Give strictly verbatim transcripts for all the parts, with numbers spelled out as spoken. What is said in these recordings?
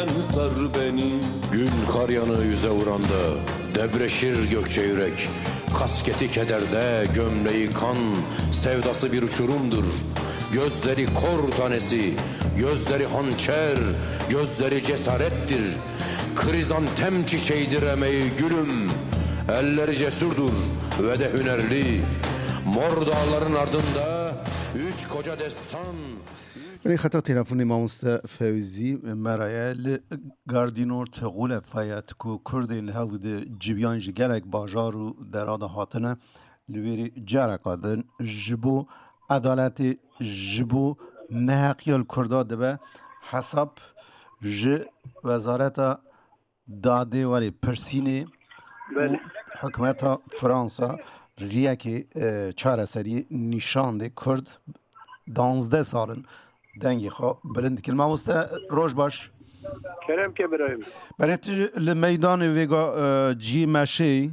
Sar beni. Gün kar yanığı yüze vuranda debreşir Gökçe yürek. Kasketi kederde, gömleği kan, sevdası bir uçurumdur. Gözleri kor tanesi, gözleri hançer, gözleri cesarettir. Krizantem çiçeğidir emeği gülüm, elleri cesurdur ve de hünerli. Mor dağların ardında üç koca destan. Rê xeta telefonê mamoste Fewzî me re ye. Li Gardînor Tixûle Fayet ku Kurdên li hev di civiyan ji gelek bajar û dera de hatine, li wêrê careka din ji bo edaletê, ji bo neheqiya li Kurda dibe hesab ji Wezareta Dadê werê pirsînê û Belê. Hikûmeta Fransa riyekê, e, çareseriyê nîşan dê. Kurd danzdeh sal in dengê xwe bilind dikin. Mamoste, roj baş. Kerem ke birayê min. Belê tu li meydanê vêga, e, cî meşê.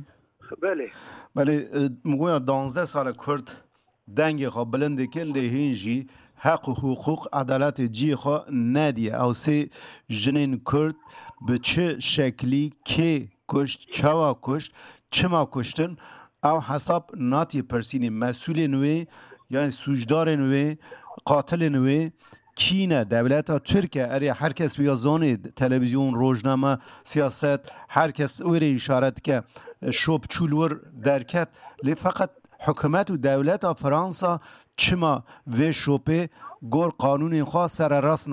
Belê. Belê, e, min goya danzdeh sal e Kurd dengê xwe bilind dikin, lê hîn jî heq û hiqûq, edaletê cihê xwe nediye. Ew sê jinên Kurd bi çi şeklî, kê kuşt, çawa kuşt, çima kuştin, ew hesab natiye pirsînê. Mesûlên wê, yani sûcdarên wê, qatilên wê kî ne? Dewleta Tirk e. Erê, her kes wê ya zanê, televîzyon, rojname, siyaset, her kes wê rê îşaret dike. Şop çû li wir derket. Lê feqet hikûmet û dewleta Fransa çima vê şopê gor qanûnên xwe sererast